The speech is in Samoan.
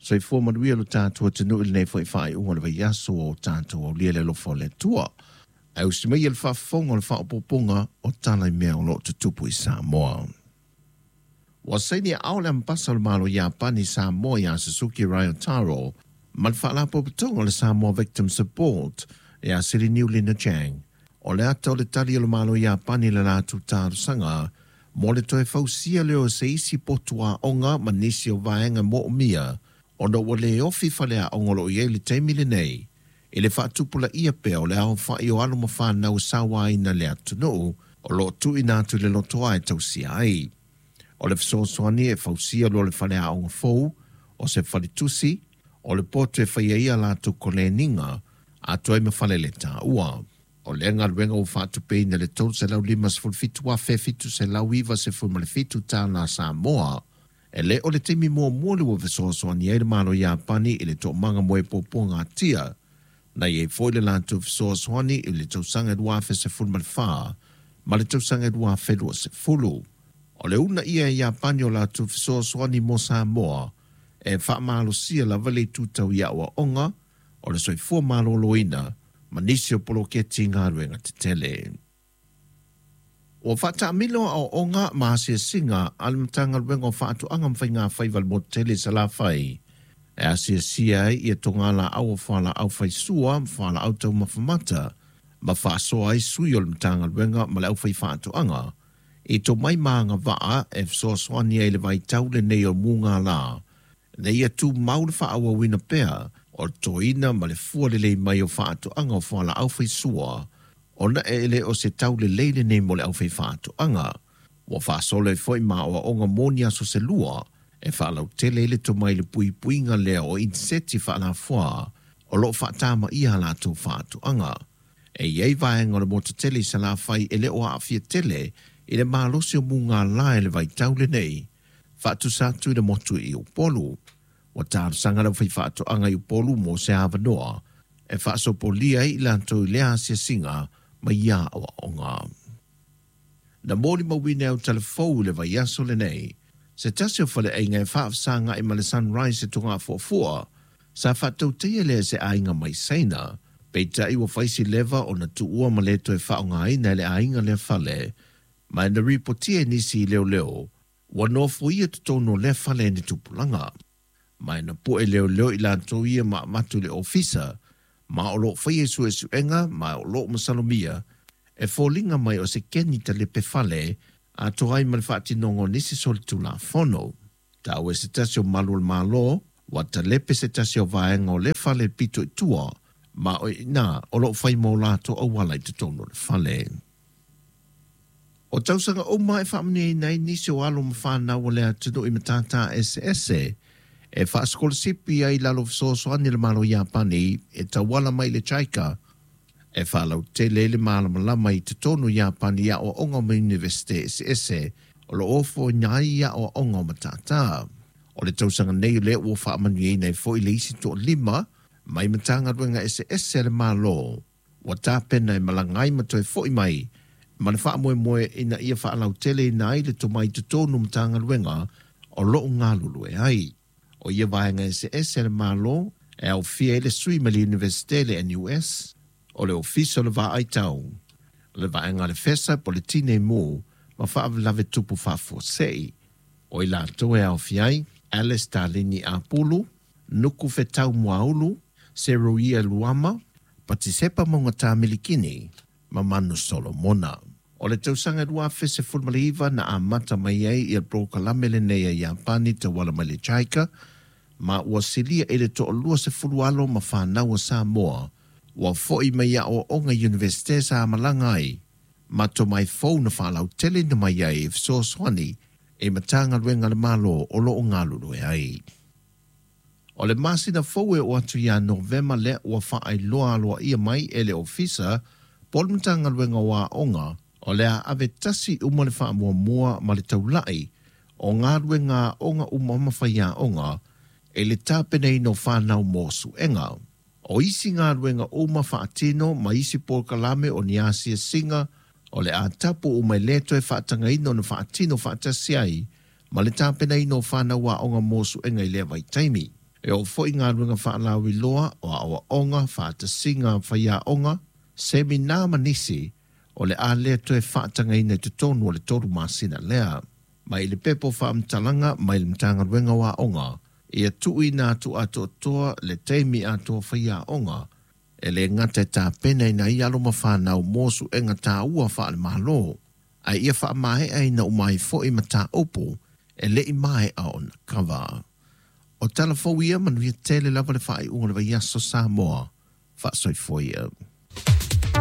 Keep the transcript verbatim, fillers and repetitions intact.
Soifua manuia lo tatou atunuu i lenei foi faaiuga o le vaiaso ua o tatou aulia le alofa o le Atua. Ae usi mai le faafofoga o le faaopoopoga o tala i mea o lo o tutupu i Samoa. Ua saini aao le ambasa o le Malo Iapani i Samoa ia Suzuki Ryotaro ma le faalapotopotoga o le Samoa Victim Support ia Siliniu Lina Chang. O le ata o le tali o le Malo Iapani i le latou talosaga mo le toe fausia lea o se isi potu aoga ma nisi o vaega moomia ona ua le ofi faleaoga o lo o i ai le taimi lenei i le faatupulaia pea o le aofai o alo ma fanau e sauaina le atunuu o lo o tuuina atu i le lotoa e tausia ai. O le fesoasoani e fausia loa le faleaoga fou o se faletusi o le poto e faia ai a latou koleniga atoa ai ma fale le taua. O lea galuega ua faatupeina i le tolu selau lima sefulu fitu afe fitu selau iva sefulu ma le fitu tala Samoa. E le o le taimi muamua le ua fesoasoani ai le Malo Iapani i le toomaga mo e puapuagatia. Na i ai foi le latou fesoasoani i le tausaga lua afe sefulu ma le fa ma le tausaga lua afe lua sefulu. O le uunaia e Iapani o latou fesoasoani mo Samoa e faamalosia lava le itu tau i aoaoga o le soifua maloloina ma nisi o poloketi galuega tetele. Ua faataamilo aoaoga ma asiasiga a le Matagaluega o Faatoaga ma Faigafaiva i le motu tele i Salafai e asiasia ai ia togalaau o fualaau faisua ma fualaau taumafa mata ma faasoa ai sui o le Matagaluega ma le aufaifaatoaga i tomai ma agavaa e fesoasoani ai i le vaitau lenei o mugala ina ia tumau le faaauauina pea o le totoina ma le fua lelei mai o faatoaga o fualaau faisua ona e le o se tau lelei lenei mo le aufaifaatoaga. Ua faasolo ai foi ma aoaoga mo ni aso se lua e faalautele ai le tomai i le puipuiga lea o iniseti faalafoa o lo o faatamaia a latou faatoaga. E i ai vaega o le motu tele i Salafai e le o aafia tele i le malosi o mugala i le vaitau lenei, faatusa atu i le motu i Upolu. Ua talosaga le aufaifaatoaga i Upolu mo se avanoa e faasopolia ai i latou i lea asiasiga ma ia aoaoga. Na molimauina e autalavou i le vaiaso lenei se tasi o faleaiga e faafesagai ma le Sunrise e Togafuafua sa faatautaia lea e se aiga mai Saina. Peitai ua fai si leva ona tuua ma le toe faaaogaina e le aiga lea fale, ma na ripotia e nisi i leoleo ua nofoia totonu o lea fale e ni tupulaga. Ma na poe leoleo i latou ia ma avatu i le ofisa, ma o lo o faia suesuega ma o lo o masalomia e foliga mai o se keni talepe fale atoa ai ma le faatinoga o nisi solitulafono. Taua e se tasi o malu o le Malo, ua talepe se tasi o vaega o lea fale pito i tua, ma o i ina o lo o fai mo latou auala i totonu o le fale. O tausaga uma e faamanuiaina ai nisi o alo ma fanau o le atunuu i matata eseese e faasikolasipi ai i lalo o fesoasoani a le Malo Iapani e tauala mai i le JICA e faalautele ai le malamalama i totonu o Iapani i aoaoga ma Iunivesite eseese o lo o ofoina ai i aoaoga o matata. O le tausaga nei lea ua faamanuiaina ai foi le isi toalima mai Matagaluega eseese a le Malo ua tapena e malaga ai ma toe foi mai ma le faamoemoe ina ia faalauteleina ai le tomai i totonu o Matagaluega o lo o galulue ai. O ia vaega eseese a le Malo e aofia ai le sui mai le Iunivesite le N U S, o le Ofisa o le Vaai Tau, le vaega a le FESA po o le Tinei Mu ma faalavelave tupu faafuasei. O i latou e aofia ai Alice Darlene Apulu, Nuku Fetau Muaulu, Seruia Luama, Patisepa Maugata Milikini, ma Manu Solomona. O le tausaga lua afe sefulu ma le iva na amata mai ai ia le polokalame lenei a Iapani tauala mai le JICA, ma ua silia i le toalua sefulu alo ma fanau a Samoa ua foi mai aoaoga i Iunivesite sa malaga ai, ma tomai fou na faalautele na mai ai e fesoasoani e Matagaluega a le Malo o lo o galulue ai. O le masina fou e oo atu ia Novema lea ua faailoa aloaia mai e le Ofisa po o le Matagaluega o Aoga o le a ave tasi uma le faamuamua ma le taulai o galuega aoga uma ma faiaoga e le tapenaina o fanau mo suega. O isi galuega uma faatino ma isi polokalame o ni asiasiga o le a tapu uma e le toe faatagaina ona faatino faatasi ai ma le tapenaina o fanau aoga mo suega i lea vaitaimi. E oo foi galuega faalauiloa o aoaoga faatasiga faiaoga semina ma nisi o le a lē toe faatagaina i totonu o le tolu masina lea. Mai le pepa o faamatalaga mai le Matagaluega o Aoga, ia tuuina atu atoatoa le taimi atoa faiaoga e lē gata e tapenaina ai alo ma fanau mo suega taua faale-Malo, ae ia faamaeaina uma ai foi mataupu e leʻi maea ona kava. O tala fou ia manuia tele lava le faaiuga o le vaiaso Samoa. Faasoifua ia.